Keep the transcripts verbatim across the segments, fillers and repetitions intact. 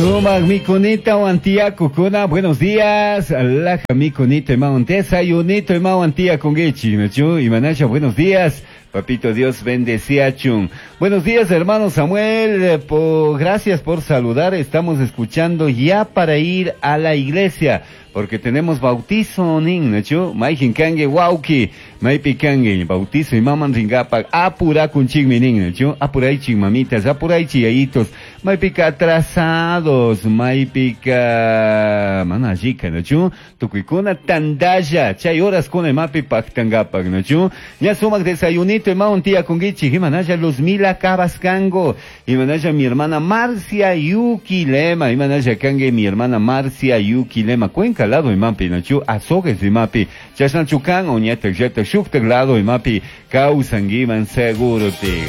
Sumak mikunita wantiakukuna, buenos días. Laja mikunita imawan desayunito imawan tiakunguichi, nachu, imanasha, buenos días. Papito Dios bendeciachun. Buenos días, hermano Samuel. Po, gracias por saludar. Estamos escuchando ya para ir a la iglesia, porque tenemos bautizo nin, nachu. Maijin kangue wauki, maipi kangue bautizo y maman ringapa apura kunchigmi nin, nachu. Apuraichi mamitas, apuraichi yayitos, maipika atrasados, maipika manajika, nachu. Tukuykuna tandalla, chay horas kuna mapi paktangapak, nachu. Ya sumak desayunito imawan tía kungichi, imanaya Luzmila Cabascango, imanaya mi hermana Marcia Yuki Lema, imanaya kangue mi hermana Marcia Yuki Lema, Cuenca lado imapi, nachu, azogues imapi, chasnachukan, oñata, yata, shuktak lado imapi, kausangiman seguro te.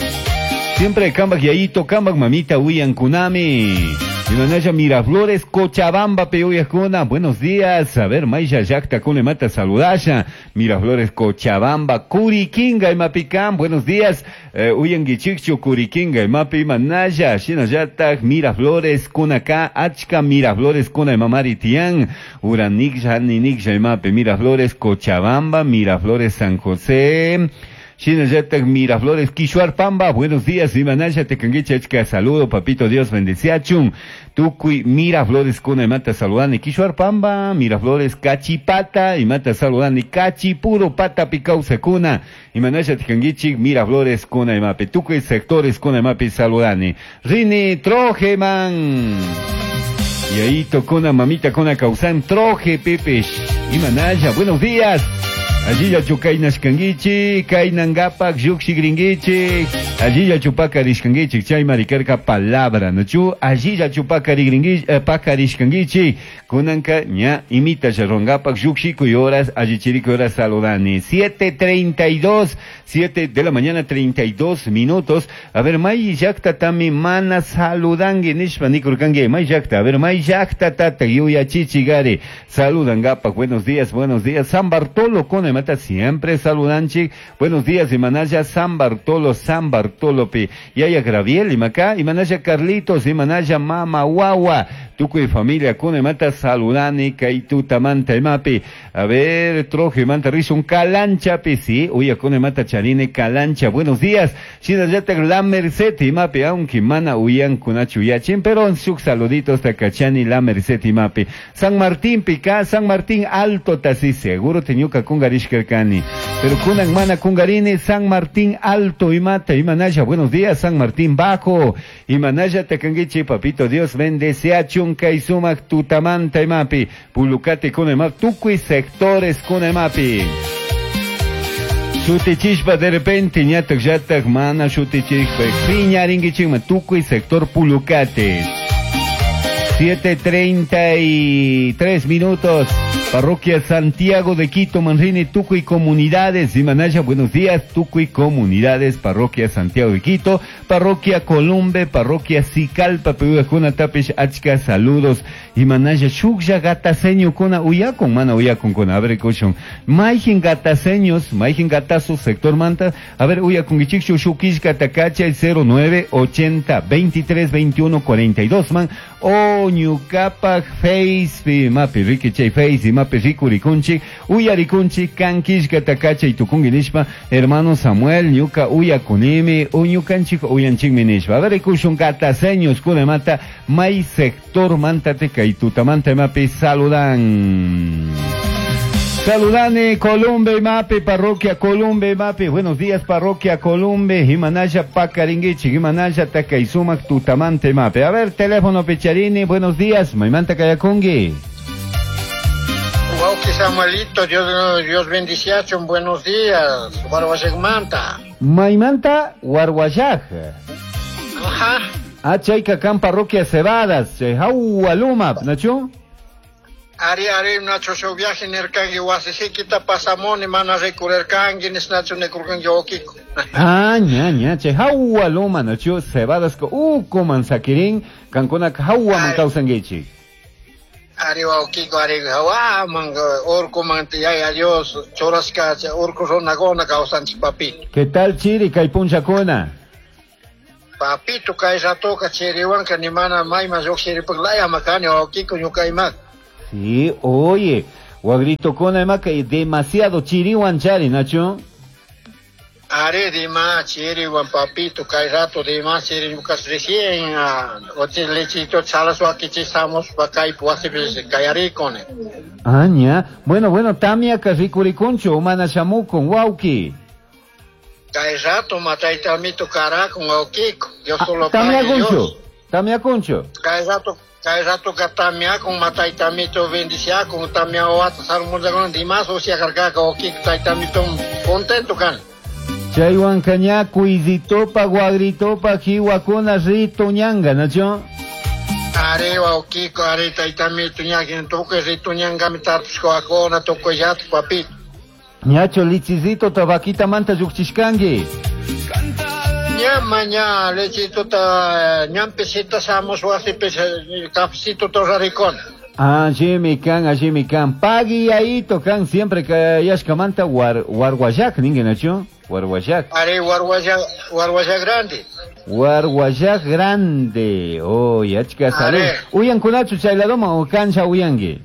Siempre kambak yayito, kambak mamita, uyan kunami. Imanaya Miraflores, Cochabamba, Peuyacuna. Buenos días. A ver, Maya Yacta, Kunemata, saludaya. Miraflores, Cochabamba, Curiquinga, Imapicán. Buenos días. Eh, Uyanguichichu, Curiquinga, Imapi, Imanaya, Shinayatak, Miraflores, Kunaka, Achka, Miraflores, Kuna, Imamari, Tián, Uranikja, Ninikja, Imapi, Miraflores, Cochabamba, Miraflores, San José. Shinayatak, Miraflores, Quishuarpamba, buenos días, Imanaya, Tecanguicha, Achka, saludo, papito Dios, bendeciachun, Tucuy, Miraflores, Kuna, Imata, saludani, Quishuarpamba, Miraflores, Cachipata, Imata, saludani, Cachipuro, Pata, Picausa, Kuna, Imanaya, Tecanguichi, Miraflores, Kuna, Imape, Tucuy, sectores, Kuna, Imape, saludani, Rini, Trojeman, y ahí tocona, mamita, Kuna, Causan, Troje, Pepe, Imanaya, buenos días. Allí ya chukainashkanguichi, kainangapak, yuxigringuichi, allí ya chupakarishkanguichi, chay maricarca palabra, no chu, allí ya chupakarigringuichi, eh, pakarishkanguichi, kunanka ña imita yarrongapak, yuxiku y horas, allí chirico horas saludani. siete treinta y dos, siete de la mañana, treinta y dos minutos. A ver, may yakta tami mana saludangue, nishpa nikurkangue, may yakta, a ver, may yakta tata, yuya chichigari, saludangapak, buenos días, buenos días, San Bartolo con mata siempre saludanchi. Buenos días, Imanaya San Bartolo, San Bartolo pi. Yaya Graviel, Imacá, Imanaya Carlitos, Imanaya Mama Wawa, Tucu y familia, Cune mata saludani, Kaituta manta imapi. A ver, Troje manta un Calancha pi, sí, uya Cune mata charine Calancha. Buenos días, Shinayata La Merced, imapi, aunque mana uyan kunachu yachin, pero suk saluditos takachani La Merced imapi. San Martín pica, San Martín Alto tasi, seguro teñuka kungari Ishkerkani. Pero kunan mana kungarini, San Martín Alto imata, Imanaya, buenos días, San Martín Bajo, Imanaya takanguichi, papito Dios bendece a chunka y sumak tutamanta imapi, pulucate kunemap, tucui sectores kunemapi. Shutichishpa de repente, ñatak yatak mana shutichishpa, piñaringuichima, tucui sector pulucate. siete treinta y tres minutos. Parroquia Santiago de Quito, Manrini, Tucuy, Comunidades, Imanaya, buenos días, Tucuy, Comunidades, Parroquia Santiago de Quito, Parroquia Columbe, Parroquia Sicalpa, Pehuajuna, Tapish, Achka, saludos, Imanaya, Shukya, Gataseño, Kona, Uyacon, Mana, Uyacon, Kona, a ver, Koshon, Maijin, Gataseños, Maijin, Gatazo, Sector Manta, a ver, Uyacon, Ichikshu, Shukishka, Takacha, el cero nueve, ochenta, veintitrés, veintiuno, cuarenta y dos, man, o Ñucapac, Face, Mapi, Ricky, Chay, Face, Mapi, Ricurikunchi, Uyarikunchi, Kankishka, Takacha y Tukunginishpa, hermano Samuel, Ñuca, Uyakunimi, Uñukanchik, Uyanchikminishpa. A ver, Kushun, Gataseños, Kunemata, May Sector, Mantate, y Tutamanta, Mapi, saludan. Saludane, Columbe, Mapi, Parroquia Columbe, Mapi. Buenos días, Parroquia Columbe, Himanaya, Pacaringuichi, Himanaya, Takaizumac, Tutamante, Mapi. A ver, teléfono Picharini, buenos días, Maimanta Kayakungui. Wauki Samuelito, Dios, Dios bendiciacho, buenos días, Warwayag manta. Maimanta, Warwayag. Ajá. Ah, Chayca, Can, Parroquia Cebadas, Chayjaualuma, ¿nacho? Ari, ari, nacho, su viaje nerkangi, wasisiquita pasamoni, mana recurerkangi, nisnacho necurkangi, okiko. Ah, ña, ña, che, jaualuma, nacho, Cebadas, uh, coman saquirín, cancona, jaua, mancausanguichi. Ari, okiko, ari, jaua, man, orco, man, ya, Dios, chorasca, orco, ronagona, causanchi, papi. ¿Qué tal, Chiri, caipunchacona? Papito kay ratoka chiriwanka ni mana mayman lluqshiripaq laya makani wawqiku ñuka imak. Sí, oye, wagrito kona imaka demasiado chiriwan chari, Nacho. Are dima chiriwan papito kay rato dima chiri ñuka recién ochi lechito chalas wakichisamos pa kay wasipi kayarikuni. Ah, ña. Bueno, bueno, tamia rikurikunchu mana shamukun wawqi. Kay rato mataytamito karakun wawqiku. Dios solo Tamiakunchu. Tamiakunchu. Kay rato kay rato ka tamiakun mataytamito bendiciakun tamia wata salmuzakuna dimas usiakarkaka wawqiku taytamito contento kan. Chaywan kaña kuizitopa guagritopa jiwakuna rituñanga, Nacho. Are wawqiku are taytamito ñakin tukuy rituñangami tarpushkawakuna tukuy llatu papito. Ñacho lichizito tabaquita manta lluqchishkanki. Ña ña lechito ta ñampisita samos wasipi cafecito torraricona. Ah, allí kan, allí kan. Pagui ahí tocan siempre que yashkamanta war warguayac, ningue Nacho. Warguayac. Are warguayac, warguayac grande. Warguayac grande. Oh, yachka salud. Uyan kunachu chayladoma o cancha uyangi.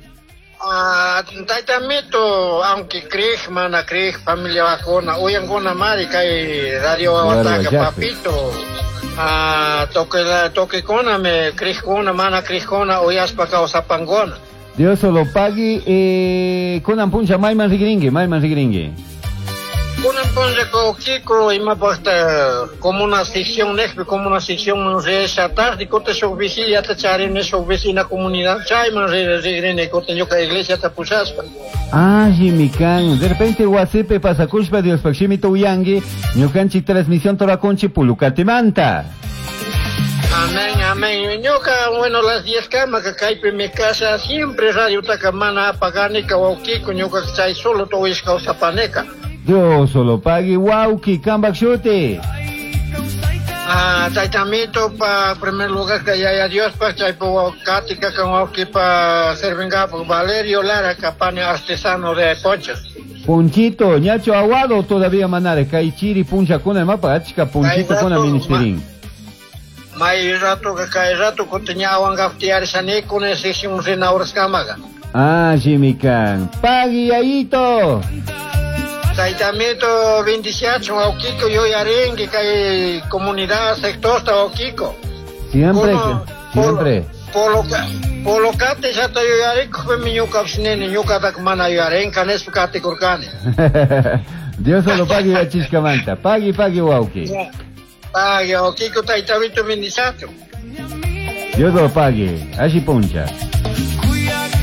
Ah, taytamito, aunque crees, mana crees, familia vacuna, uyankuna mari kay radio wataka papito. Ah, toque toque kona me crees kuna mana crees kuna uyaspa kawsapangona. Dios solo pagui eh kunan puncha mayman rigringue, mayman rigringue. Kunan puncha kiko imapaqta como una sección nejpi como una sección esa tarde kuta shuk vigilia ta charini shuk vecina comunidad chayman rigrini kuta ñuka iglesia ta pushaspa. Ah, jimikan, de repente wasipi pasakushpa Dios pakshimito uyangi ñukanchik transmisión torakunchi pulukatimanta. Amén, amén. Ñuka, bueno, las diez camas que kaypi mi casa siempre radio taka mana apaganika wawqiku ñuka chay solo tuwishka kawsapanika. Dios solo pagui wawqi kambak shuti. Ah, taytamito pa primer lugar que yaya Dios pa chaypo katika kan wawqi pa servingapo Valerio Lara Capane artesano de ponchos. Ponchito, ñacho aguado todavía manare kay chiri puncha kuna mapa achka ponchito kuna ministerin. May rato que kay rato kutiñawan gaftiarishanikuna sesión rinawraskamaga. Ah, jimikan. Pagui ayito. Taytamito bendiciacho wawqiku yuyarinki kay comunidad sector wawqiku. Siempre, siempre. Polocate ya te yuyariku mi ñukapish nini ñukatak mana yuyarinka nispa katikurkani. Dios solo pagui yachishkamanta. Pagui, pagui wawqi. Pagui wawqiku taytamito bendiciacho. Dios lo pague. Allí puncha.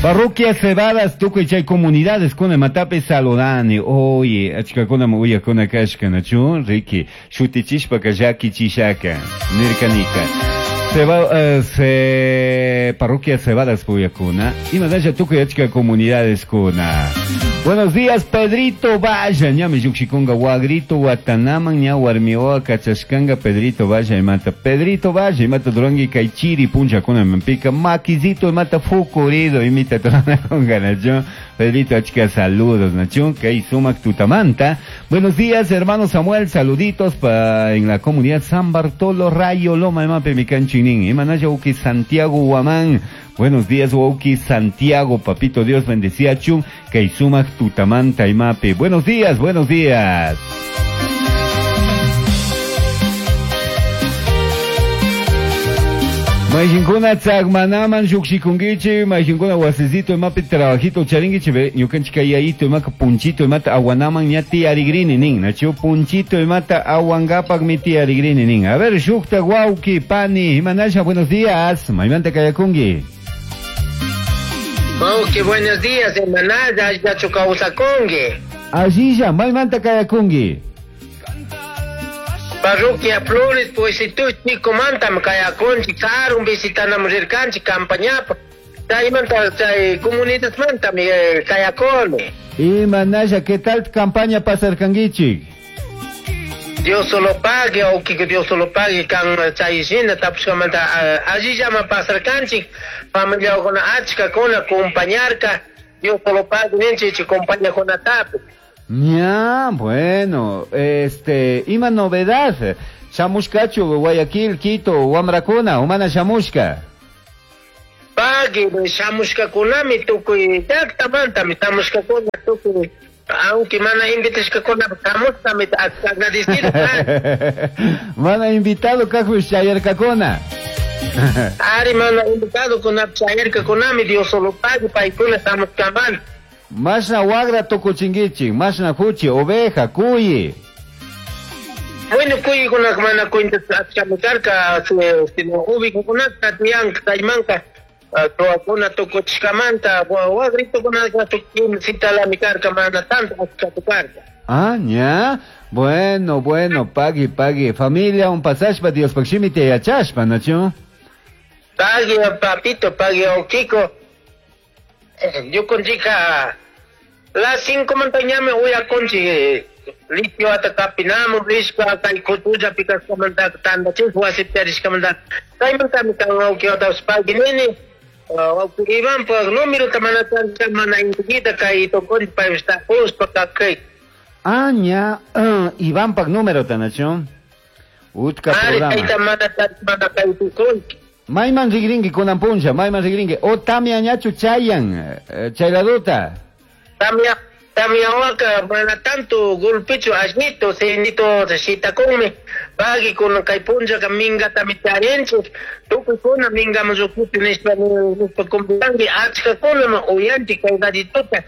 Parroquia Cebadas, tukuy chay comunidades kuna matape saludani. Oye, achkakuna uyakuna kashka nachu, Ricky, shutichishpa kallaki chishaka, nirkanika. Seba, uh, se, parroquia Cebadas puyakuna, imanalla tukuy achka comunidades kuna. Buenos días, Pedrito Valla, ñami llukshikunga wagrito watanaman ña warmioa kachashkanga Pedrito Valla imata. Pedrito Valla imata durangi kay chiri puncha kuna mampika maquizito imata fukurido imita toranakunga nacho. Pedrito achka saludos nacho, kay sumak tutamanta. Buenos días, hermano Samuel, saluditos pa en la comunidad San Bartolo Rayo Loma imape mikanchinin. Imanaya uki Santiago Huamán. Buenos días, Wauki Santiago, papito Dios bendecía chun, Kaisumak tutamanta imape. Buenos días, buenos días. Mayinkuna tsagmanaman shukshikunkichi, mayinkuna wasisito imapi trabajito charinkichi, ñukanchik kayayito imaka punchito imata aguanaman ña tiyarigrini nin, nachu punchito imata aguangapak mi tiyarigrini nin. A ver, shukta wauki, pani, imanasha, buenos días, maymanta kayakunki. Wauki, buenos días, hermanada, yachu kawsakunki. Allilla, maymanta kayakunki. Parroquia Flores, pues si tú chico mantam kayakunchi, karun visitanam rirkanchi campañapa. Chaymanta chay comunidad mantam kayakuni. Imanasha, ¿qué tal campaña pasarkankichik? Dios solo pague, o que Dios solo pague, kan chayshina tapushkamanta allillama pasarkanchik, familiakuna achka kuna acompañarka, Dios solo pague ninchik compañakunatapi. Ya, bueno, este, ima novedad. Shamushkachu Guayaquil, Quito, wamrakuna, umana shamushka. Pagui, shamushkakunami tukuy llaqtamantami shamushkakuna tukuy, aunque mana invitashkakuna shamushkami agradecido. Mana invitado kajpish chayarkakuna. Ari mana invitado kuna chayarkakunami, Dios solo pague paykuna shamushkamanta. Mashna wagra tukuchinkichik, mashna huchi, oveja, cuyi. Bueno, cuyikuna mana cuenta achkami karka, sino ubikunata tiyanka kaymanka tuwakuna tukuchishkamanta, wagritukunaka tukuchitalami karka, mana tanto achkatu karka. Ah, ña. Bueno, bueno, pagui, pagui. Familia, un pasashpa, Diospaq shimita yachashpa, ¿nachu? Pagui, papito, pagui, Okiko. Yo con chica, las cinco montañas me voy a conchi, litio hasta capinamo, risca, kay kutuja, picas comandar, tanda, chico, así te risca mandar. Kay manta mi kan que otra pagui nene, Iván, pues número tamana mana inquita, kay tocón, pa esta justo, pa kay. Ah, ña, uh, Iván pak número tanacho. Utka programa. Mayman rigringi kunan puncha, mayman rigringi. O tamia ñachu chayan, chayladuta. Tamia, tamia waka, mana tanto golpecho asnito, senito shitakunmi. Pagui kun kay puncha ka minga tamitarencho. Tukuy kuna minga mazukuti nishpa nishpa kumbiangi, achka kuna ma uyanti kay gadituta.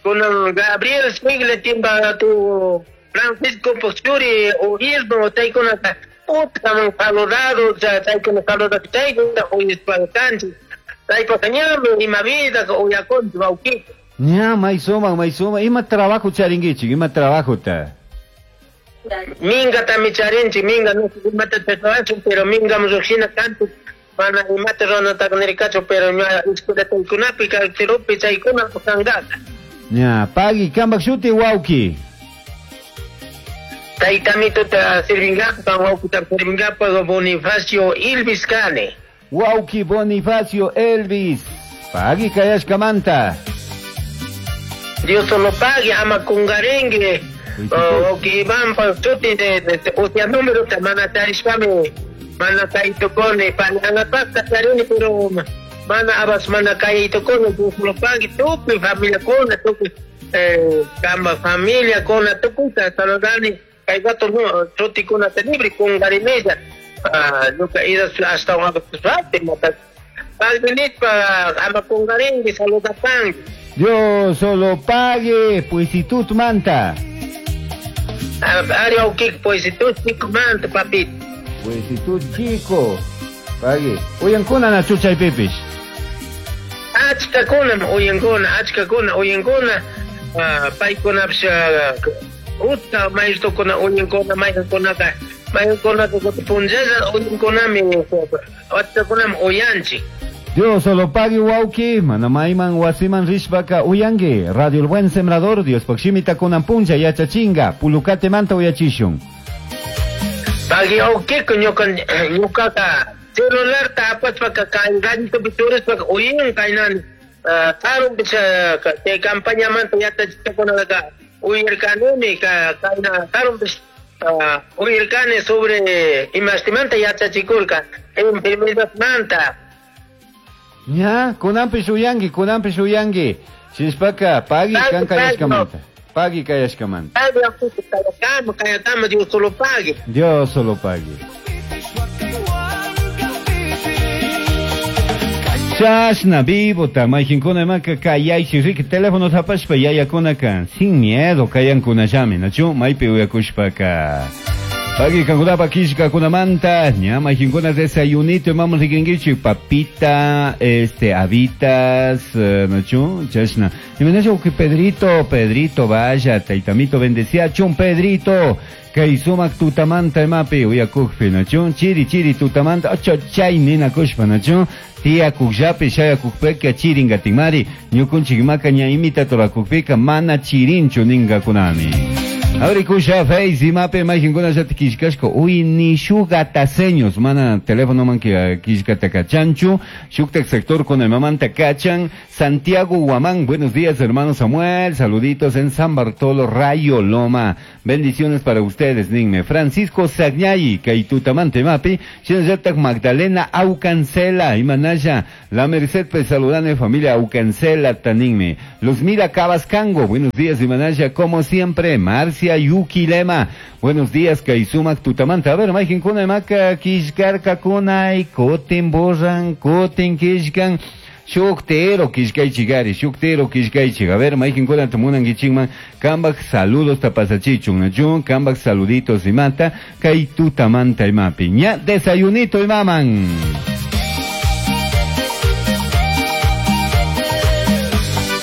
Con Gabriel Sigle timba tu Francisco Pochuri o Irno taikuna puta saludado taikuna saludado taikuna uyispankanchi taikuna ima vida uyakonchi wauquito. Ña maysuma maysuma ima trabajo charinguichi ima trabajo ta minga tami charinchi minga no imata trabajo pero minga muxina kantu mana imata rona takanirikacho pero ña escuela taikunapi kaltirupi chaykuna kangata. Ña, pagui, kambak shuti wauki. Taitamito ta sirvingapa, wauki ta sirvingapa Bonifacio Elvis Kane. Wauki Bonifacio Elvis. Pagui kayashkamanta. Dios solo pague, ama kungarengue. Wauki Iván pa shuti de de utia número ta mana tarishkame. Mana taitukone, pananapasta charini pero mana abas mana kayito kono Dios lo pague tupi familia kona tupi eh kamba familia kona tukuta saludani kay gato no chuti kona libre con garimella ah nunca ida hasta una suerte mata pagbenit pa ama con garengue saluda pan Dios solo pague pues si tú manta ari okay pues si tú chico manta papito pues si tú chico pague uyankuna na chucha y pipish achkakuna uyankuna achkakuna uyankuna paykunapish utka maestro-kuna uyankuna maykankunaka maykankunaka punllalla uyankunami achkakunami uyanchik. Dios solo pague wauki mana mayman wasiman rishpaka uyangi Radio El Buen Sembrador Dios pakshimita kunan punlla yachachinga pulukate manta uyachishun. Pagui awkiko ñuka ñukaka celular ta apachpaka kay ganito biturispa uyin kaynan karun bisa te campaña manta yachachikkunaka uyirkanuni ka kayna karun bis uyirkani sobre imastimanta yachachikurka enfermedad manta. Ña, kunanpish uyanki, kunanpish uyanki. Shinshpaka pagui kan kayashkamanta. Pagui kayashkamanta. Kayakama, kayakama, Dios solo pague. Dios solo pague. Chashna vivo mayqinkuna imaka kayaychi riki teléfono tapashpa yayakunaka sin miedo kayankunallami nachu maypi uyakushpaka. Pagui kankunapa kishkakunamanta ña mayqinkuna desayunito imaman rikinkichik papita este habitas nachu chashna imanasha uki Pedrito Pedrito vaya taytamito bendecía chun Pedrito kay sumak tutamanta imapi uyakukpi nachu chiri chiri tutamanta ocho chay ninakushpa nachu tiyakukllapi shayakukpika chiringatinmari ñukunchik imaka ña imita turakukpika mana chirinchu ninkakunami. Abrikusha Face imapi mayqinkuna llati killkashka uy nishugataseños mana teléfono man killkata kachanchu shuktak sector con el mamanta kachan Santiago Guamán, buenos días hermano Samuel, saluditos en San Bartolo Rayo Loma, Bendiciones para ustedes, ninme. Francisco Sagñay, kay tutamanta imapi, shinallatak Magdalena Aucancela, imanalla, La Merced pues saludane familia Aucancela taninme. Los Mira Cabascango, buenos días imanalla, como siempre, Marcia Yuquilema, buenos días kay sumak tutamanta. A ver, mayqinkuna imaka killkarkakuna, kutin borran, kutin killkan. Shuktero killkaychik ari, shuktero killkaychik. A ver, mayqinkunata munankichikman, kambak saludos tapasachichun, nachun, kambak saluditos imata, kay tutamanta imapi. Ña desayunito imaman.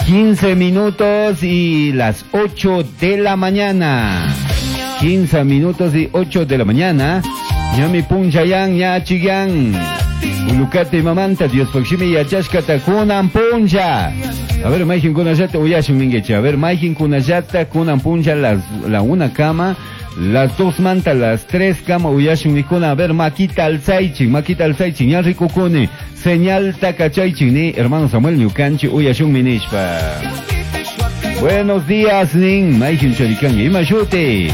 quince minutos y las ocho de la mañana. quince minutos y ocho de la mañana. Ñami punchayan, ña chigan. Ulukate mamanta, Dios pakshimi yachashkata kunan puncha. A ver, mayqin kunallata uyashun ninguichi. A ver, mayqin kunallata kunan puncha las, la una cama, las dos manta, las tres cama uyashun nikuna. A ver, makita alzaichi, makita alzaichi, ña rikukuni. Señal takachaichi ni, hermano Samuel ñukanchi uyashun minishpa. Buenos días, nin, mayqin charikan, ima shuti.